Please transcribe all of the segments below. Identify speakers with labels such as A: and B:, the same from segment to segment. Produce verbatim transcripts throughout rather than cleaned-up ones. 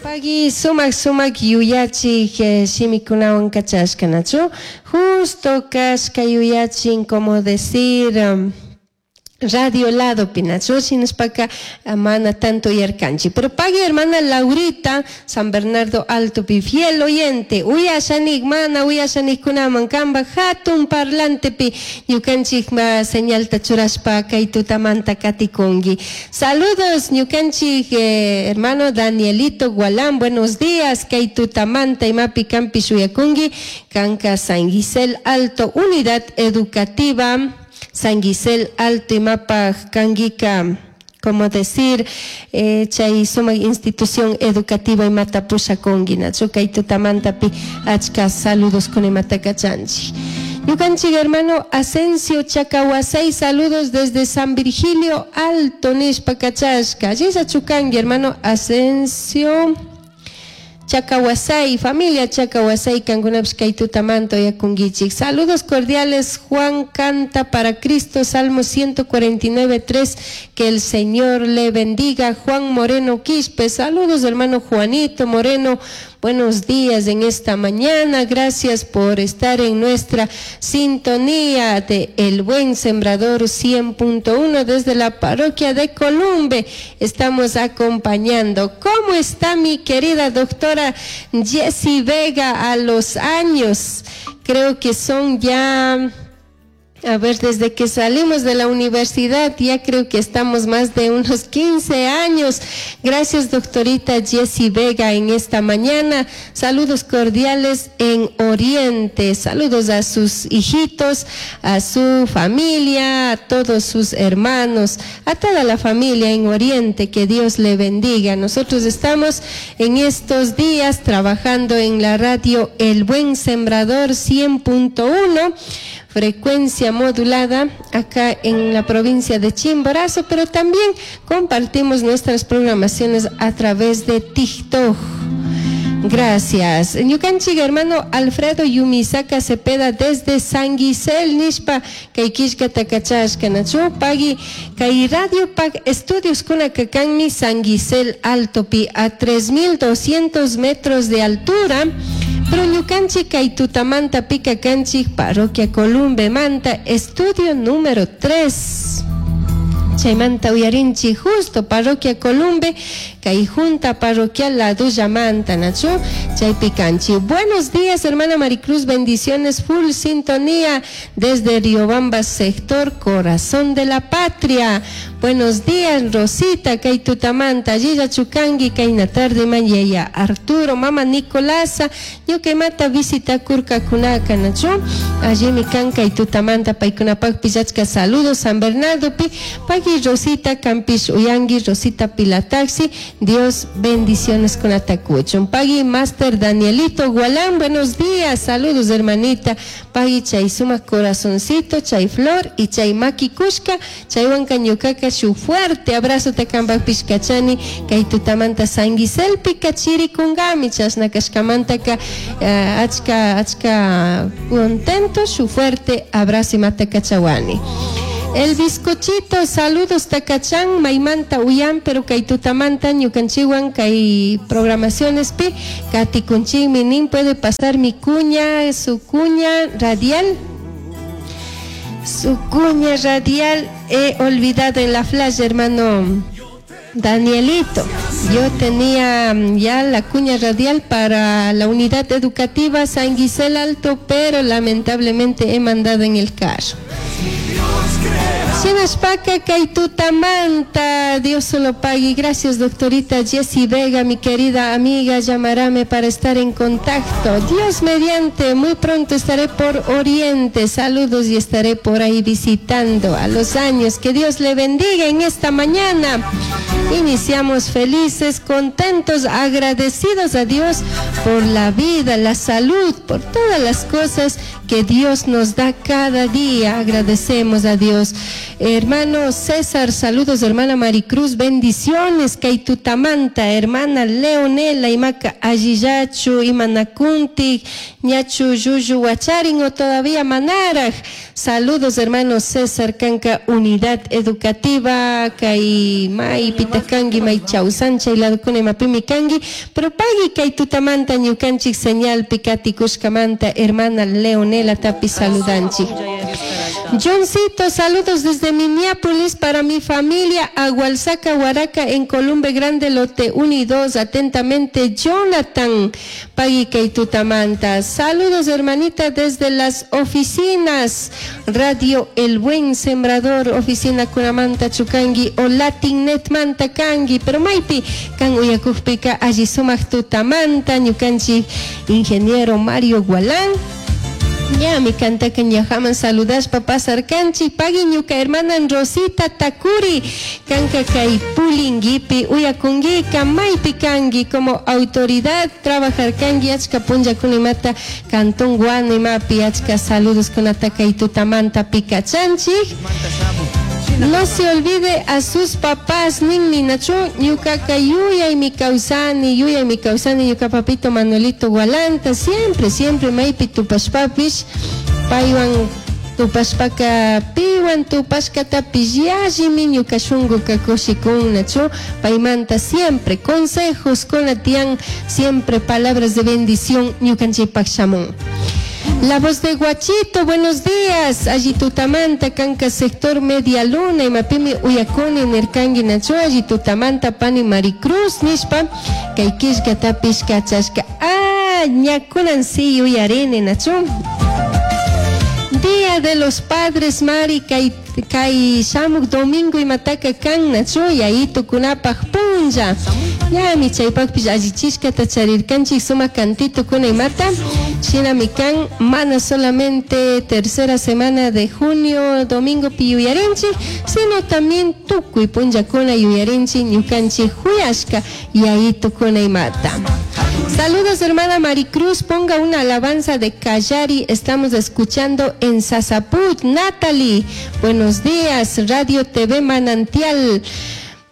A: Pagui sumak sumak yuyachik eh, shimikunawan kachashka, nachu? Justo kashka yuyachin, como decir, um, radio lado pinachu, shinashpaka mana tanto yarkanchi. Pero pagui hermana Laurita, San Bernardo Alto pi, fiel oyente, uyashanik, mana uyashanik kunaman kamba hatun parlantepi ñukanchik ma señalta churashpa kay tutamanta katikungi. Saludos ñukanchik eh, hermano Danielito Gualán, buenos días, kay tutamanta imapi kampi shuyakungi, kanka San Gisel Alto, unidad educativa San Gisel Alto imapaj kangika, como decir, eh, chay sumak institución educativa imata pushakungi, nachu kay tutamantapi achka saludos con imata kachanchik. Ñukanchik hermano Asensio Chacahuasay, saludos desde San Virgilio Alto, nishpa kachashka. Allilla chukangi, hermano Asensio Chacahuasay, familia Chacahuasay, kankunapish kay tutamanta uyakunguichik. Saludos cordiales, Juan canta para Cristo, Salmo ciento cuarenta y nueve, tres, que el Señor le bendiga. Juan Moreno Quispe, saludos hermano Juanito Moreno, buenos días en esta mañana, gracias por estar en nuestra sintonía de El Buen Sembrador cien punto uno desde la parroquia de Columbe. Estamos acompañando. ¿Cómo está mi querida doctora Jessie Vega a los años? Creo que son ya... A ver, desde que salimos de la universidad, ya creo que estamos más de unos quince años. Gracias, doctorita Jessie Vega, en esta mañana. Saludos cordiales en Oriente. Saludos a sus hijitos, a su familia, a todos sus hermanos, a toda la familia en Oriente. Que Dios le bendiga. Nosotros estamos en estos días trabajando en la radio El Buen Sembrador cien punto uno. Frecuencia modulada acá en la provincia de Chimborazo, pero también compartimos nuestras programaciones a través de TikTok. Gracias. Ñukanchik hermano Alfredo Yumisaka Cepeda desde San Gisel, nishpa kay killkata kachashka nachu pagui kay Radio Pag Estudios kuna kakanmi San Gisel Altopi a tres mil doscientos metros de altura. Pero ñukanchik kay tutamanta pika kanchik parroquia Columbe Manta, estudio número tres. Chaymanta uyarinchi justo parroquia Columbe, kay junta parroquial La Duya Manta, nachu, chaypi kanchi. Buenos días, hermana Maricruz, bendiciones, full sintonía desde Riobamba, sector Corazón de la Patria. Buenos días, Rosita, kay tutamanta, Gilla Chucangui, kay natarde mañaya, Arturo, mama Nicolasa, ñuka visita kurka kunaka, nachu, allí mi kan kay tutamanta, paykunapaq pillachka, saludos, San Bernardo pi, pagui Rosita, Campish Uyangui, Rosita Pilataxi, Dios bendiciones con atacuchon. Pagui Master Danielito Gualán, buenos días, saludos hermanita. Pagui chay suma corazoncito, chay flor y chay maki kushka, chay huanca ñucaca, su fuerte abrazo te kamba pishkachani, kay tutamanta sanguiselpi kachiri kungami, chasna kashkamanta ka, eh, achka, achka contento, su fuerte abrazo y mata kachawani. El bizcochito, saludos Tacachán, Maimanta, Uyán, pero kay tutamanta, ñukanchiwan, kay programaciones pi, Katy Kunchín, minin, puede pasar mi cuña, su cuña radial. Su cuña radial he olvidado en la flash, hermano Danielito. Yo tenía ya la cuña radial para la unidad educativa San Gisel Alto, pero lamentablemente he mandado en el carro. Shinashpaka kay tutamanta, Dios solo pague. Gracias, doctorita Jessie Vega, mi querida amiga, llamarame para estar en contacto. Dios mediante, muy pronto estaré por Oriente. Saludos y estaré por ahí visitando a los años. Que Dios le bendiga en esta mañana. Iniciamos felices, contentos, agradecidos a Dios por la vida, la salud, por todas las cosas que Dios nos da cada día. Agradecemos a Dios. Hermano César, saludos, hermana Maricruz, bendiciones. Kay tutamanta, hermana Leonela, imaka allillachu, imanakunti, ñachu llullu wacharin o todavía manaraj. Saludos, hermano César, kanka unidad educativa, kay may pitakangi, may chausancha, ladukuna imapimi kangi, pero pagui kay tutamanta ñukanchik señal pikatikushkamanta, hermana Leonela tapi saludanchik. Johncito, saludos desde Minneapolis para mi familia, Agualzaca, Huaraca, en Columbe Grande, lote uno y dos. Atentamente, Jonathan, pagui kay tutamanta. Saludos, hermanita, desde las oficinas, Radio El Buen Sembrador, oficina kunamanta chukangi, o Latinnet manta kangi, pero maipi, kan uyakujpika, alli sumak tutamanta, ñukanchik, ingeniero Mario Gualán. Ya mi canta que ñajaman saludaspa pasarkanchik pagui ñuka hermana Rosita Takuri kanka kay pulinguipi uyakunguika maypi kangi como autoridad trabajar kangi achka punllakunimata cantón Guano imapi achka saludos kunata kay tutamanta pikachanchik. No se olvide a sus papás, ninmi nachu, ñukaka yuyay mi kawsani, yuyay mi kawsani, ñuka papito Manuelito Gualanta, siempre, siempre maypi tupashpapish, paywan tupashpaka piwan tupashkatapish yallimi ñuka shunkuka kushikun nachu, paymanta siempre consejos kunatian, siempre palabras de bendición ñukanchikpak shamun. La voz de Guachito, buenos días. Alli tutamanta, kanka sector Media Luna, imapimi uyakuni nirkangi nachu, alli tutamanta pani Maricruz, nishpa, kay killkatapish kachashka. Ah, ñakunan si uyarini nachu. Día de los Padres, Mari, kay, kay shamuk domingo imataka kan nachu, yayitukunapaj punlla. Ñami chaypakpish allichishkata charirkanchik sumak cantito kuna imata. Shinami kan mana solamente tercera semana de junio domingo pi yuyarinchik, sino también tukuy punllakuna yuyarinchik ñukanchik huyashka yayitukuna imata. Saludos, hermana Maricruz, ponga una alabanza de Callari, estamos escuchando en Sasaput. Natalie, buenos días, Radio T V Manantial.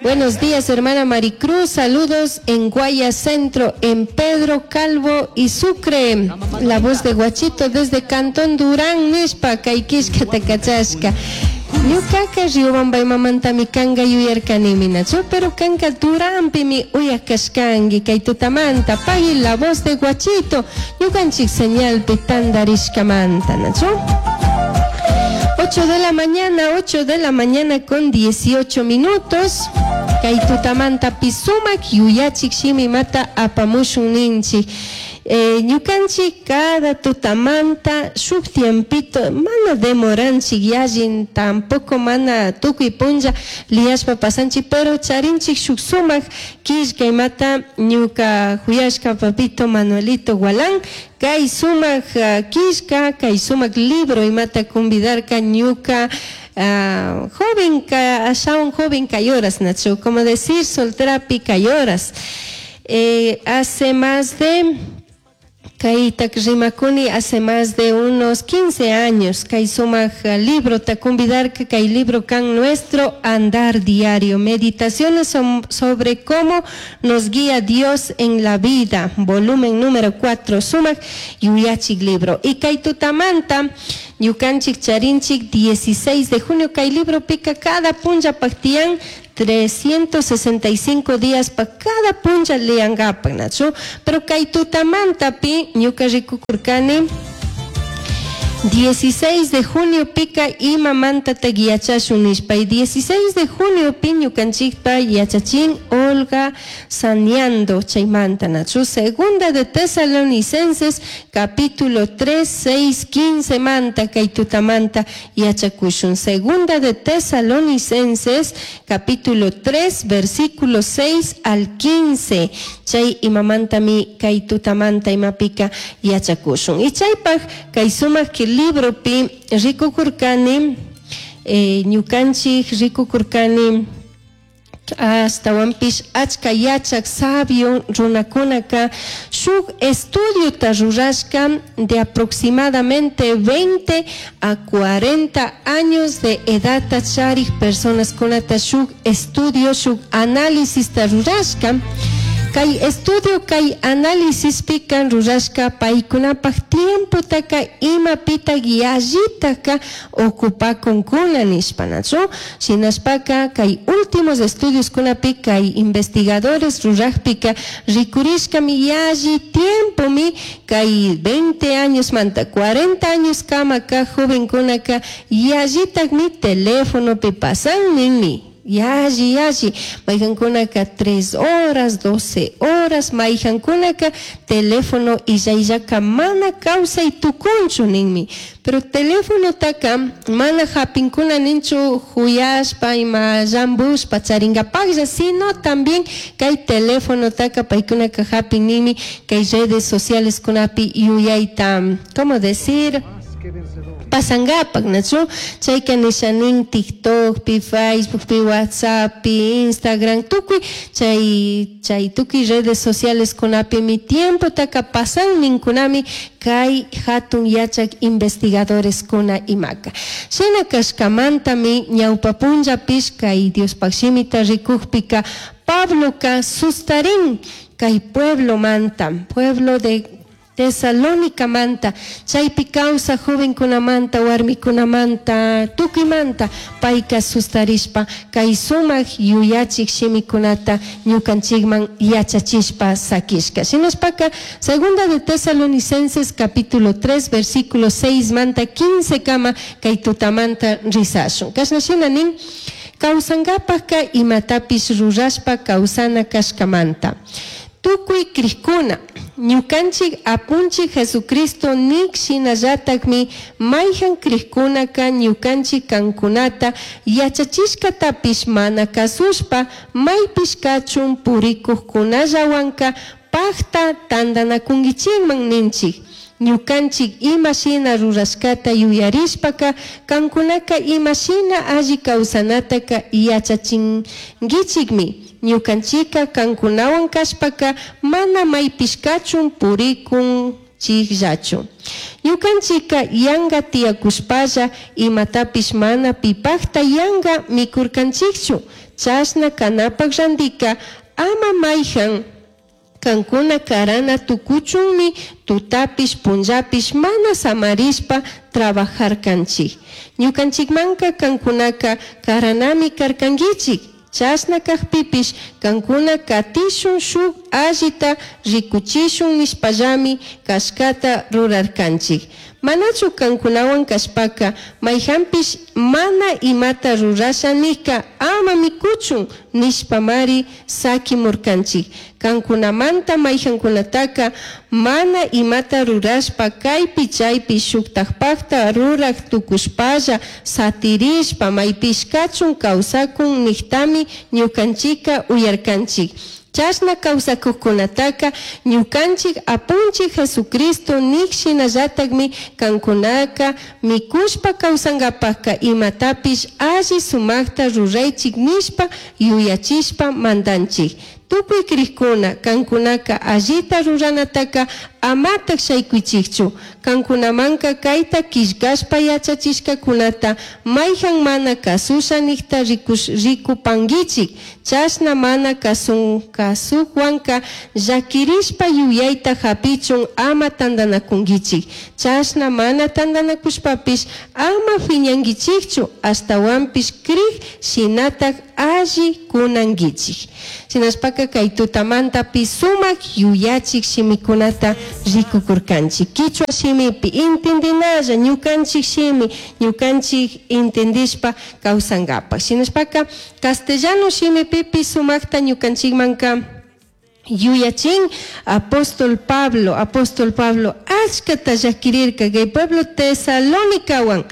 A: Buenos días, hermana Maricruz, saludos en Guaya Centro, en Pedro Calvo y Sucre. La voz de Guachito desde Cantón Durán, nishpa, Caikishka, Takachashka. Ñukaka Riobamba imamantami kanga yuyarkanimi nachu, pero kanka Duranpimi uyakashkangi kay tutamanta, pagui la voz de Guachito, ñukanchik señalpi tandarishkamanta nachu. ocho de la mañana, ocho de la mañana con dieciocho minutos. Kay tutamanta pisumak yuyachik shimi mata apamushun ninchik. Eh, ñukanchik cada tutamanta shuk tiempito mana demoranchik yallin tampoco mana tukuy punlla liyashpa pasanchik, pero charinchik shuk sumak killka imata ñuka huyashka papito Manuelito Gualán kay sumak uh, killka kay sumak libro imata convidarka ñuka uh, joven ka ashawan joven kayoras nachu, como decir solterapi kayoras. Eh, hace más de Kaytak rimakuni hace más de unos quince años, kay sumak libro takumbidarka, kay libro kan nuestro andar diario, meditaciones sobre cómo nos guía Dios en la vida, volumen número cuatro, sumak yuyachik libro. Y kay tutamanta, ñukanchik charinchik dieciséis de junio, kay libro pica cada punlla paktian, trescientos sesenta y cinco días pa cada punlla leangapak, nachu, pero kay tutamanta pi ñuka rikukurkani dieciséis de junio pica imamanta taguiachashun nishpa, y dieciséis de junio pi ñukanchikpa yachachin Olga Saneando chaymanta nachu, segunda de Tesalonicenses capítulo tres, seis, quince manta kay tutamanta yachakushun, segunda de Tesalonicenses capítulo tres versículo seis al quince chay imamantami kay tutamanta imapika yachakushun, y chaypaj kay sumak que libro pi rikukurkani, eh, ñukanchik rikukurkani Ashtahuanpish achca yachaj sabio runakunaka shuk estudiota rurashka de aproximadamente veinte a cuarenta años de edadta charij personaskunata shuk estudio, shuk análisista rurashka. Kay estudio, kay análisis-pika rurashka paykunapaj tiempotaka imapita yallitaka ocupakunkuna nishpa, nachu? Shinashpaka kay últimos estudios kunapi kay investigadores rurajpika rikurishkami yalli tiempomi kay veinte años manta cuarenta años kamaka jovenkunaka yallitakmi telefonopi pasan ninmi. Yalli, yalli, mayhankunaka tres horas, doce horas, mayhankunaka teléfono illayllaka mana kawsay tukunchu ninmi. Pero telefonotaka mana hapinkuna ninchu huyashpa ima llambushpa charingapaklla, sino también kay telefonotaka paykunaka hapin ninmi kay redes sociales kunapi yuyayta, ¿cómo decir? Pasangapak, nachu? Chayka nisha nin TikTok, pi Facebook, pi WhatsApp, pi Instagram, tukuy chay, chay tukuy redes sociales kunapi mi tiempo taka pasan ninkunami kay hatun yachak investigadores kuna imaka. Shina kashkamantami ñawpa punllapish kay Diospaj shimita rikukpika Pabloka sustarin kay pueblo manta, pueblo de Tesalónica manta, chaypi kawsaj jovenkunamanta, warmikunamanta, tukuymanta, payka sustarishpa kay sumak yuyachik shimikunata ñukanchikman yachachishpa sakishka. Shinashpaka, segunda de Tesalonicenses capítulo tres, versículo seis manta quince kama kay tutamanta risashun. Kashna shina nin, kawsankapaka imatapish rurashpa kawsana kashkamanta. Tukuy krikuna, ñukanchik apunchik Jesucristo nik shinallatakmi mayhan krikkunaka ñukanchik kankunata yachachishkatapish mana kasushpa maypish kachun purikukkunallawanka pakta tantanakunkichikman ninchik. Ñukanchik ima shina rurashkata yuyarishpaka kankunaka ima shina alli kawsanataka yachachinkichikmi. Ñukanchika kankunawan kashpaka mana maypish kachun purikunchikllachu. Ñukanchika yanka tiyakushpalla imatapish mana pipakta yanka mikurkanchikchu. Chashna kanapak randika ama mayhan kankuna karana tukuchunmi tutapish punllapish mana samarishpa trabajarkanchik. Ñukanchikmanka kankunaka karanami karkankichik. Chashna kakpipish kankuna katishun shuk allita rikuchishun nishpallami kashkata rurarkanchik. Manachu kankunawan kashpaka mayhanpish mana imata rurasha nika ama mikuchun nishpamari sakimurkanchik. Kankunamanta mayhankunataka mana imata rurashpa kaypi chaypi shuktakpakta rurak tukushpalla satirishpa maypish kachun kawsakun niktami ñukanchika uyarkanchik. Chashna kawsakuqkunataka ñukanchik apunchik Jesucristo nik shinallatakmi kankunaka mikushpa kawsankapakka imatapish alli sumakta ruraychik nishpa yuyachishpa mandanchik. Tukuy krikuna kankunaka allita ruranataka amatak shaykuychikchu. Kankunamanka kayta killkashpa yachachishkakunata mayhan mana kasusha nikta rikupankichik. Chashna mana kasun kasukwanka llakirishpa yuyayta hapichun ama tantanakunkichik. Chashna mana tantanakushpapish ama phiñankichikchu ashtawanpish krik shinatak alli kunankichik. Shinashpaka kay tutamantapi sumak yuyachik shimikunata rikukurkanchik. Kichwa shimipi intendinalla ñukanchik shimi ñukanchik intendishpa kawsankapak. Shinashpaka castellano shimipipi sumakta ñukanchikmanka yuyachin apóstol Pablo, apóstol Pablo achkata llakirirka kay pueblo Tesalónicawan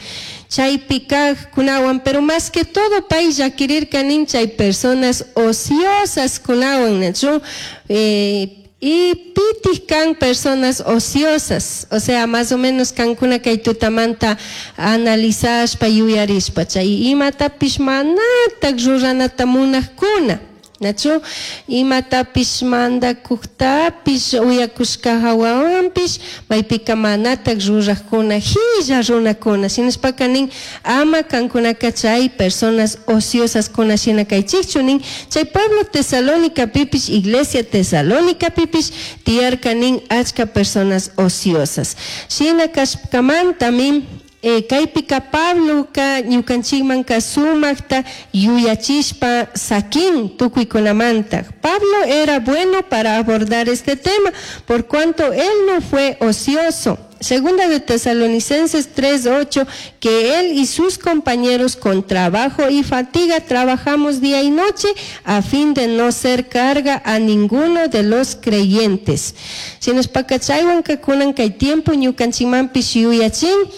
A: chaypi kaqkunawan, pero más que todo pay llakirirka nin chay personas ociosas kunawan, nachu? Eh, Y pitij kan personas ociosas, o sea, más o menos kankuna kay tutamanta analizashpa yuyarishpa chay imatapish manatak ruranata munajkuna, nachu imatapish mandakuktapish uyakushka hawawanpish maypika manatak rurajkuna hilla runakuna shinashpaka nin ama kankunaka chay personas ociosas kuna shina kaychikchu nin chay pueblo Tesalónica pipish iglesia Tesalónica pipish tiyarka nin achka personas ociosas shina kashkamantami Eh, kaypika Pabloka ñukanchikmanka sumakta yuyachishpa sakin tukuykunamanta. Pablo era bueno para abordar este tema, por cuanto él no fue ocioso. Segunda de Tesalonicenses tres ocho, que él y sus compañeros con trabajo y fatiga trabajamos día y noche a fin de no ser carga a ninguno de los creyentes. Shinashpaka chaywanka kunan kay tiempo ñukanchikmanpish yuyachin,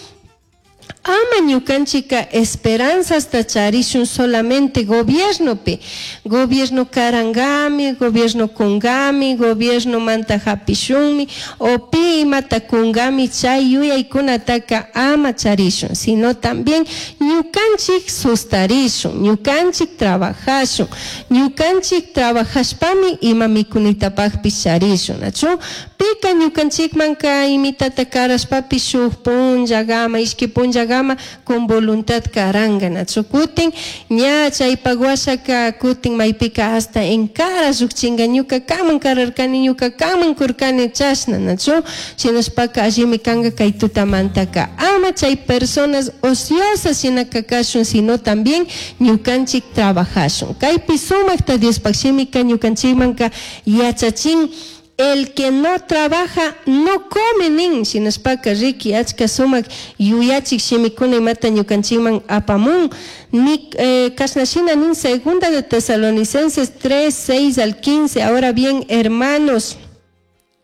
A: ama ñukanchika esperanzasta charishun solamente gobiernopi. Gobierno karangami, gobierno kungami, gobierno manta hapishunmi, o pi imata kungami chay yuyaykunataka ama charishun, sino también ñukanchik sustarishun, ñukanchik trabajashun, ñukanchik trabajashpami ima mikunitapakpish charishun, nachu? Pika ñukanchikmanka imitata karashpapish shuk punllagama, ishki punllagama con voluntad karanga, nachu? Kutin ña chaypak washaka kutin maypika hasta en cara llukchinga ñuka kaman kararkani, ñuka kaman kurkani chashna, nachu? Shinashpaka allimi kanga kay tutamantaka ama chay personas ociosas shinaka kashun, sino también ñukanchik trabajashun. Kaypi sumakta Diospak shimika ñukanchikmanka yachachin, el que no trabaja no come nin, shinashpaka riki achka sumak yuyachik shimikuna imata ñukanchikman apamun. Ni, eh, kashna shina nin segunda de Tesalonicenses tres, seis al quince. Ahora bien, hermanos,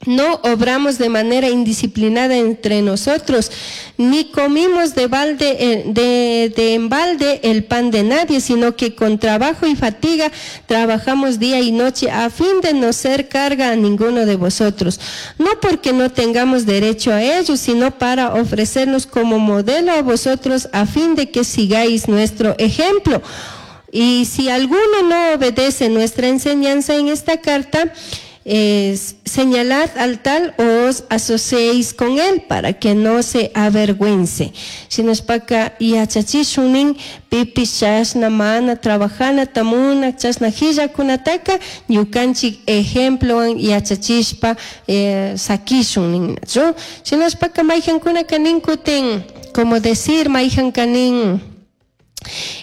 A: no obramos de manera indisciplinada entre nosotros, ni comimos de balde, eh, de, de en balde el pan de nadie, sino que con trabajo y fatiga trabajamos día y noche a fin de no ser carga a ninguno de vosotros. No porque no tengamos derecho a ello, sino para ofrecernos como modelo a vosotros a fin de que sigáis nuestro ejemplo. Y si alguno no obedece nuestra enseñanza en esta carta, eh, señalad al tal o os asociéis con él para que no se avergüence. Shinashpaka yachachishunin pipish chashna mana trabajana tamuna chashna hillakunataka ñukanchik ejemplowan yachachishpa, eh, sakishun ninnachu. Shinashpaka mayjankunaka nin kutin, como decir mayjanka nin,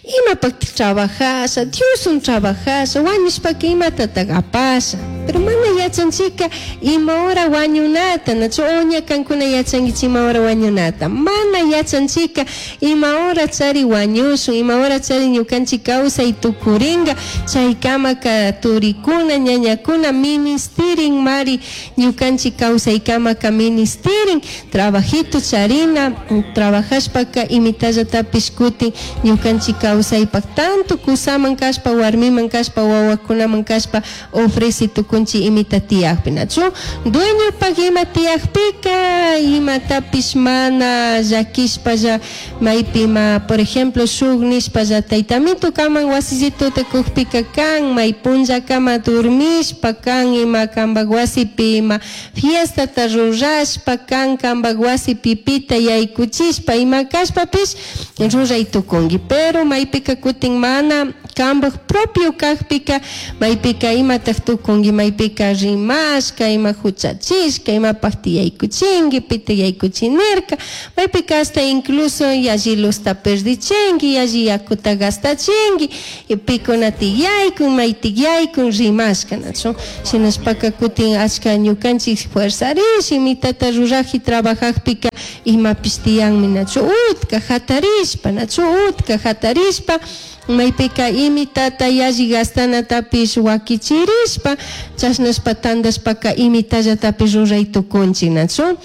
A: imapaq trabajasha, Diosun trabajasha, wañushpaka imatataq apasha. Pero mana yachanchika ima hora wañunata, nachu oña kankuna yachankichik ima hora wañunata. Mana yachanchika ima hora chari wañushun, ima hora chari ñukanchik kawsay tukuringa, chaykamaka turikuna, ñañakuna ministirin mari ñukanchik kawsaykamaka ministirin, trabajito charina, trabajashpaka imitallatapish kutin ñukanchik kawsaypak tanto kusaman kashpa, warmiman kashpa, wawakunaman kashpa ofrece tukunchi imita tiyakpi, nachu? Dueñopak ima tiyakpika imatapish mana llakishpalla maypi ima, por ejemplo, shuk nishpalla taytamito kaman wasisituta kukpika kan may punllakama durmishpa kan ima kampak wasipi ima fiestata rurashpa kan kampak wasipi pita yaykuchishpa ima kashpapish ruray tukunki. Pero maypika kutin mana kampak propio kakpika maypika imatak tukunki, maypika rimashka, ima huchachishka, imapak tiyaykuchinki, pita yaykuchinirka, maypika hasta incluso yalli luzta perdichinki, yalli yakuta gastachinki, pikuna tiyaykun, may tiyaykun rimashka, nachu? Shinashpaka kutin achka ñukanchik fuerzarish, imitata ruraji trabajajpika imapish tiyanmi, nachu? Utka hatarishpa, nachu? Utka hatarishpa maypika imitata yalli gastanatapish wakichirishpa chashnashpa tandashpaka imitallatapish ruray tukunchik, nachu?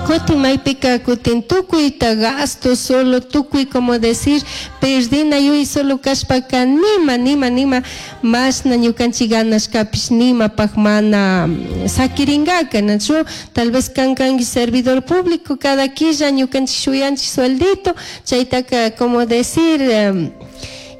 A: Kutin maypika kutin tukuyta gasto solo tukuy como decir perdina yuy solo kashpaka nima nima nima mashna ñukanchik ganashkapish nimapaj mana sakiringaka, nachu? Tal vez kan kanki servidor público, cada quilla ñukanchik shuyanchik sueldito, chaytaka como decir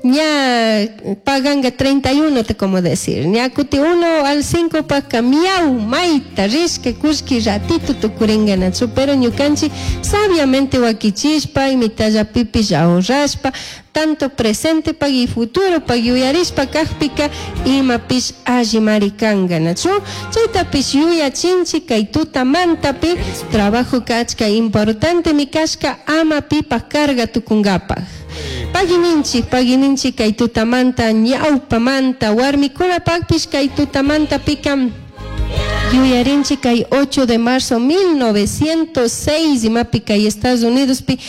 A: ña paganga treinta y uno te como decir, ña kuti uno al cinco paka miau maita rishka kushki ratito tukuringa, nachu? Pero ñukanchik sabiamente wakichishpa imitallapipish ahorrashpa tanto presente pag y futuro pag yuyarishpa kajpika imapish allimari kanga, nachu? Chaytapish yuyachinchik kay tutamantapi trabajo kachka importante mi kashka ama pipaj carga tukunkapaj. Pagininchik, pagininchik kay tutamanta ñawpamanta warmikunapakpish kay tutamanta pika yuyarinchik kay ocho de marzo mil novecientos seis imapi kay Estados Unidos pi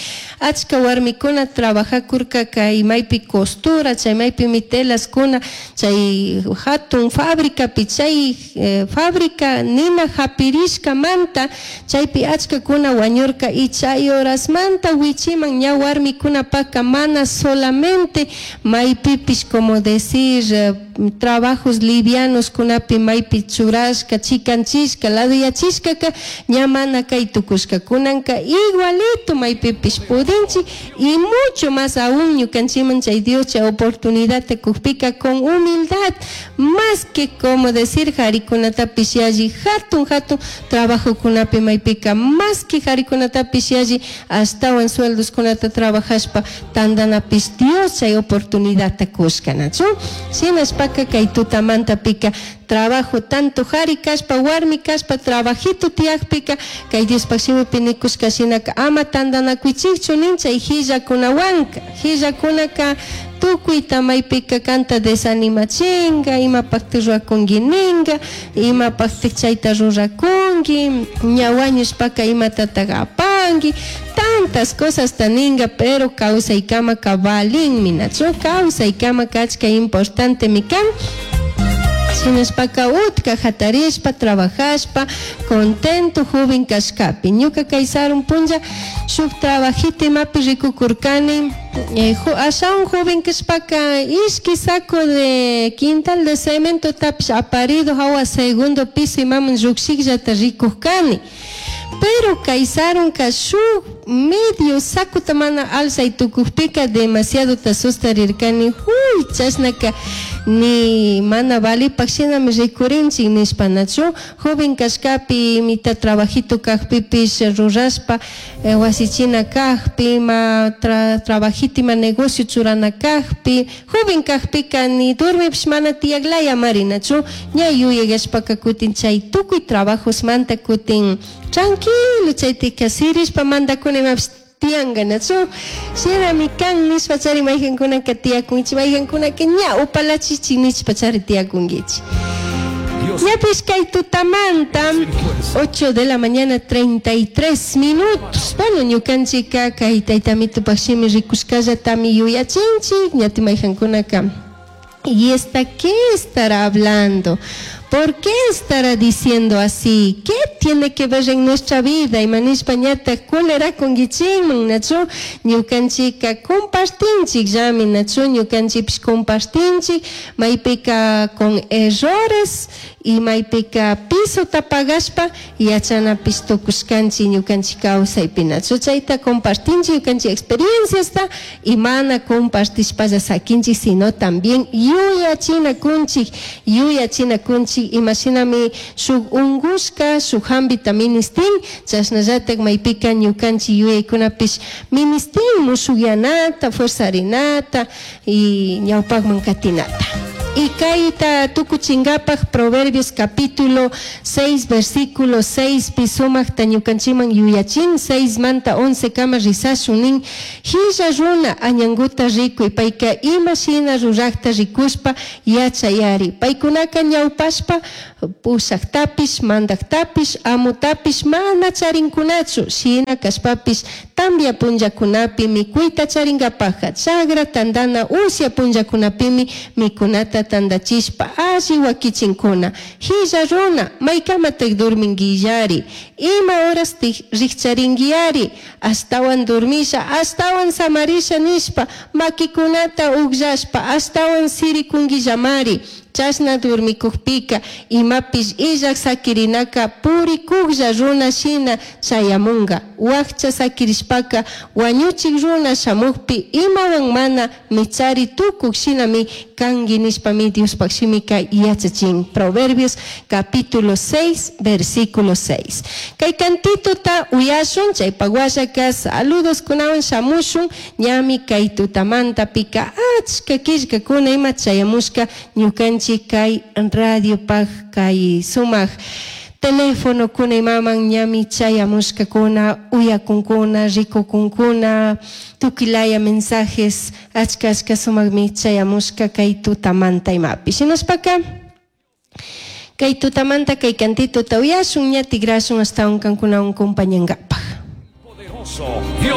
A: achka warmikuna trabajakurka kay maypi costura, chay maypi mitelaskuna, chay hatun fábrica pi chay, eh, fábrica nina hapirishkamanta chaypi achkakuna wañurka y chay horasmanta wichiman ña warmikunapaka mana solamente maypipish como decir, eh, trabajos livianos kunapi maypi churashka, chikanchishka, laduyachishkaka ña mana kay tukushka kunanka igualito maypipish pudinchik y mucho más aún ñukanchiman chay Dios chay oportunidad te kujpika con humildad, más que como decir jarikunatapish yalli hatun hatun trabajo kunapi maypika más que jarikunatapish yalli ashtawan sueldos kunata trabajashpa tandanapish Dios chay oportunidad te kushka, nachu? Shinashpaka kay tutamanta pika trabajo tanto jari kashpa warmi kashpa trabajito tiyakpika kay Diospaj shimipi nikushka shinaka ama tandanakuichikchu nin chay hillakunawanka hillakunaka tukuyta maypika kanta desanimachinga imapakti rurakunki ninga imapakti chayta rurakunki ña wañushpaka imatataq apanki tantas cosas taninga pero kawsaykamaka valinmi, nachu? Kawsaykama kachka importante mi kan. Shinashpaka utka hatarishpa trabajashpa contento joven kashkapi ñuka kay sarun punlla shuk trabajito imapi rikukurkani, eh, jo-, ashawan joven kashpaka ishki saco de quintal de cemento tapish aparido hawa segundo piso imaman llukshikllata rikukani pero kay sarunka shuk medio sakuta mana alzay tukukpika demasiado ta sustarirkani huy chashnaka ni mana valipak shinami rikurinchik nishpa, nachu? Joven kashkapi imita trabajito kajpipish rurashpa, eh, wasichina kajpi ima tra-, trabajito ima negocio churana kajpi joven kajpika ni durmipish mana tiyaklaya mari, nachu? Ña yuyagashpaka kutin chay tukuy trabajosmanta kutin tranquilo chaytika sirishpa mandakuna imapish tiyanka, nachu? Shinami kan nishpa chari maykankunaka tiyakunchik maykankunaka ña upalachichik nishpa chari tiyakunkichik. Ñapish kay tutamanta ocho de la mañana treinta y tres minutos. Bueno, ñukanchika kay taytamitupak shimi rikushkallatami yuyachinchik ñati maykankunaka. ¿Y esta qué estará hablando? ¿Por qué estará diciendo así? ¿Qué tiene que ver en nuestra vida? Y manishpa ñata cólera con guichinman, nachu, ñukanchika compartinchik, llami, nachu, ñukanchipish compartinchik, maypika con errores, y maypika piso tapagashpa, yachanapish tukushkanchik, ñukanchik kawsaypi, nachu, chayta compartinchik, ñukanchik experienciasta, y mana compartishpalla sakinchik, sino también yuyachinakunchik, yuyachinakunchik, imashinami shuk ungushka, shuk hambita ministin, chashnallatak maypika ñukanchik yuyaykunapish ministin mushuyanata, fuerzarinata y ñawpakman katinata. Y kayta tukuchinkapaj Proverbios capítulo seis versículo seis pisumakta ñukanchikman yuyachin seis manta once kama risashun nin hilla runa añanguta rikuy payka ima shina rurakta rikushpa yachayari paykunaka ñawpashpa pushaktapish mandaktapish amutapish mana charinkunachu shina kashpapish tambia punllakunapi mikuyta charinkapajka chagra tandana usya punllakunapimi mikunata Mikunata tandachishpa alli wakichinkuna. Hilla runa, maykamatak durminguillari? Ima horastik rikcharinguiari? Ashtawan durmisha, ashtawan samarisha nishpa, makikunata ugllashpa, ashtawan sirikunguillamari. Chashna durmikukpika, imapish illak sakirinaka purikuklla runa shina chayamunga. Wakcha sakirishpaka, wañuchik runa shamukpi, imawan mana michari tukuk shinami kanki nishpami Diospaj shimika yachachin. Proverbios capítulo seis, versículo seis. Kay cantituta uyashun, chaypak washaka saludos kunawan shamushun, ñami kay tutamanta pika achka killkakuna ima chayamushka ñukanchik kay radiopaj kay sumak teléfono kuna imaman ñami chayamushkakuna, uyakunkuna, rikukunkuna, tukilaya mensajes achka achka sumakmi chayamushka kay tutamanta imapi. Shinashpaka kay tutamanta kay cantituta uyashun, ña tigrashun ashtawan kankunawan compañangapaj.
B: Poderoso Dios.